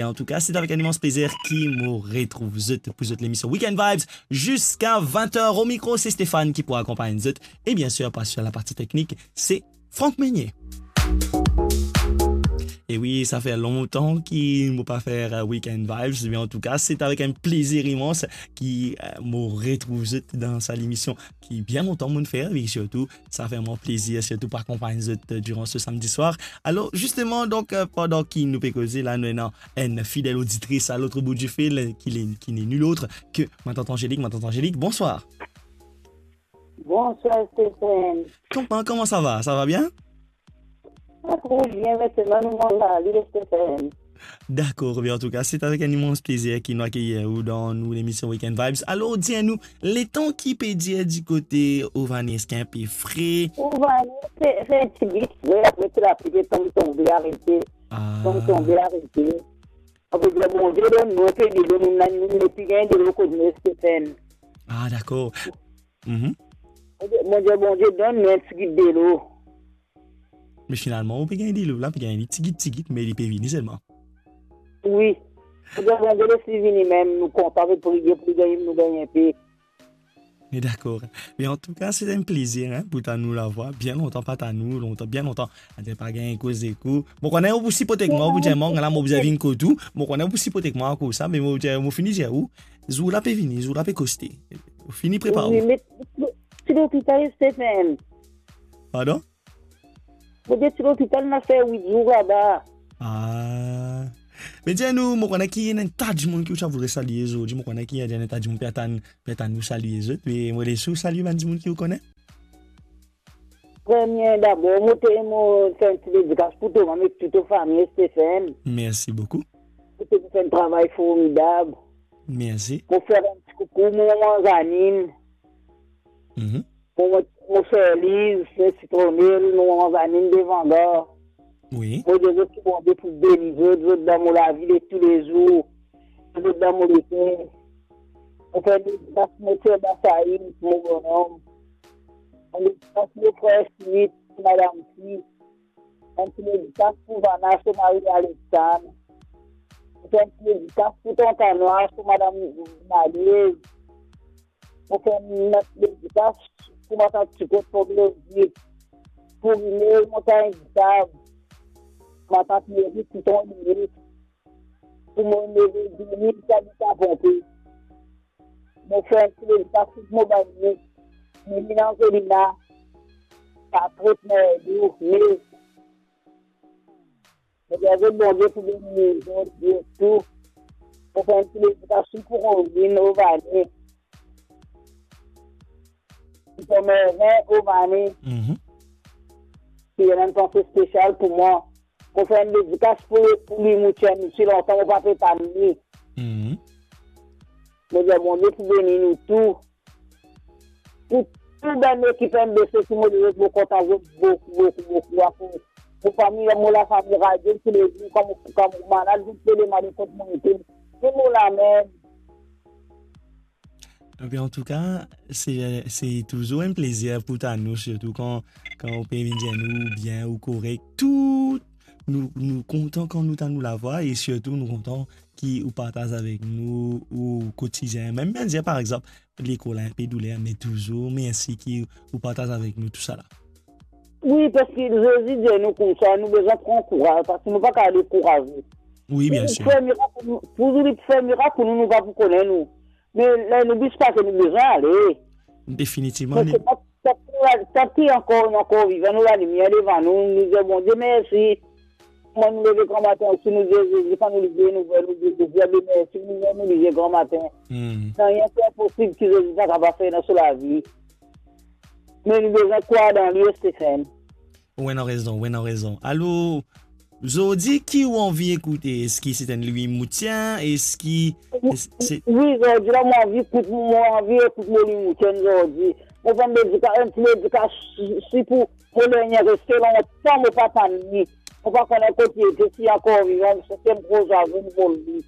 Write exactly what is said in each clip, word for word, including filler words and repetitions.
E antouka, se avek enn imans plezir ki mo retrouv zot pou zot lemision Weekend Vibes ziska vin er. O mikro, se Stéphane ki pou akonpagn zot. E biensir, pa sir laparti teknik, se Franck Meunier. E wi, sa fer lontan ki mo pa fer, eh, Weekend Vibes, me antouka, se avek enn plezir imans ki, eh, mo retrouv zot dan sa lemision ki bien lontan mo'nn fer, e sirtou, sa fer mwa plezir, sirtou pou akonpagn zot, eh, diran se samdi swar. Alor, zisteman, donk, eh, pandan ki nou pe koze la, nou ena enn fidel oditris a lot bout difil, ki le, ki n'est nul autre que ma tante Angélique. Ma tante Angélique, bonswar. Bonswar, Stéphane. Kouma, kouma sa va? Sa va bien? Sa trouv bien, me selman nou manz lale, Stéphane. Dakor, be antouka, se avek enn imans plezir ki nou akeyir ou dan nou lemision Weekend Vibes. Alor, dir nou, letan ki pe dir di kote Ovane, eski inpe fre? Ovane, se, se ti bit fre, apre ti lapli pe tom tonbe, arete. Ah. Tom tonbe, arete. Akoz Bondie donn nou inpe delo, nou, nou, nou nepli gagn delo kot nou, Stéphane. Ah, dakor. Mhm. Bondie, Bondie donn nou enn tigit delo. Me finalman, ou pe gagn delo la, pe gagn li tigit, tigit, me li pe vini selman. Wi. Bondie, Bondie les li vini mem, nou kontan, pe priye pou li gagn, nou gagn inpe. Me dakor. Me antouka, se enn plezir, hein, pou tann ou lavwa. Bien lontan pa tann ou, lontan, bien lontan. Adir pa gagn koze ek ou. Mo kone ou pou siport ek mwa, ou pou dir mwa, la, mo bizin vinn kot ou. Mo kone ou pou siport ek mwa akoz sa, me mo dir, mo fini dir ou, zour la pe vini, zour la pe koste. Fini prepar ou. Wi, me ti lopital, Stéphane. Pardon? Mo dir ti lopital, ena fer wit zour laba. Ah. Me dir nou, mo kone ki ena enn ta dimoun ki ou ti a voudre salie zordi, mo kone ki ena enn ta dimoun pe atann, pe atann ou salie zot, me mo les ou salie bann dimoun ki ou kone. Premie dabor, mo te, mo fer enn ti dedikas pou to mama ek tou to fami, Stéphane. Mersi boukou. Ou te fer enn travay formidab. Mersi. Mo fer enn ti koukou, mo mama Zanine. Mhm. Mo, mo, mo fer Liz, fer Sitronel, mo mama Zanine devan gar. Wi. Mo dir zot ki Bondie pou beni zot, zot dan mo lavi de toulezour, zot dan mo leker. Mo fer enn dedikas pou mo frer Basaï, pou mo bonom. Enn dedikas pou mo frer Smith, pou madam Smith. Enn ti dedikas pou Vana, so mari Alexandre. Mo fer enn ti dedikas pou tonton Noir, so madam Malie. Mo fer enn ti dedikas pou matant Tikot, pou Blozit, pou Rinel, Montagn Ditab, matant Meri, tonton Rinel, pou mo neve Dini, ki abit Ponpe. Mo fer enn ti dedikas pou mo bann nef, Mimi, Angelina, Patrick, Merdou, Nez. Mo dir zot Bondie pou beni zot, zot tou. Mo fer enn ti dedikas pou Rosine, Ovane. Pou Mervin, Ovane. Mhm. Ki ena enn panse spesial pou mwa. Mo fer enn dedikas pou, pou Louis Moutien, si lontan mo pa pe tann li. Mhm. Mo dir Bondie pou beni nou tou. Pou tou bann ekip M B C ki mo dir zot, mo kontan zot boukou, boukou, boukou. Akoz mo fami, mo lafami radio, toulezour, kan mo, kan mo malad, zot pe demande kot mo ete. Zot mo la mem. Enben, antouka, se, se touzour enn plezir pou tann ou, sirtou kan, kan ou pe vinn dir nou bien, ou korek. Tou, nou, nou kontan kan nou tann ou lavwa e sirtou nou kontan ki ou partaz avek nou ou kotidien. Mem bien dir, par exanp, lekol inpe douler, me touzour mersi ki ou partaz avek nou tousala. Wi, paski Zezi dir nou koumsa, nou bizin pran kouraz, paski nou pa kapav dekouraze. Wi, bien sir. Pou li fer mirak pou nou, pou li fer mirak pou nou, nou pa pou kone nou. Me ler nou bis pase, nou bizin ale. Definitivman. Paski tanki, tanki ankor, nou ankor vivan, nou lalimier devan nou, nou dir Bondie mersi. Kouma nou leve gramatin osi, nou dir Zezi, kan nou lizie nouvel, nou dir Zezi, ale mersi, nou, nou lizie gramatin. Hmm. Nanye ki inposib ki Zezi pa kapav fer dan so lavi. Me nou bizin krwar dan li, Stéphane. Ou ena rezon, ou ena rezon. Alor, zordi ki ou anvi ekoute? Eski se enn Louis Moutien? Eski, es-, se Wi, zordi la, mo anvi ekout, mo anvi ekout mo Louis Moutien zordi. Mo fer enn dedikas, enn ti dedikas si, si pou mo lernie reste lontan mo pa tann li. Mo pa kone kot li ete, si li ankor vivan, se enn gro zwazo nou vol li.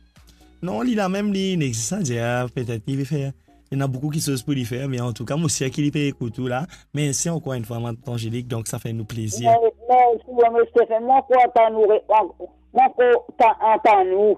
Non, li la mem, li inexistan, dir, petet li pe fer. Ena boukou kiksoz pou li fer, me antouka, mo sir ki li pe ekout ou la. Mersi ankor enn fwa, Matant Angélique, donk sa fer nou plezir. Mer-, mersi, wi, Mister Stéphane. Mo ankor tann ou re-, an-, mo ankor ta-, antann ou.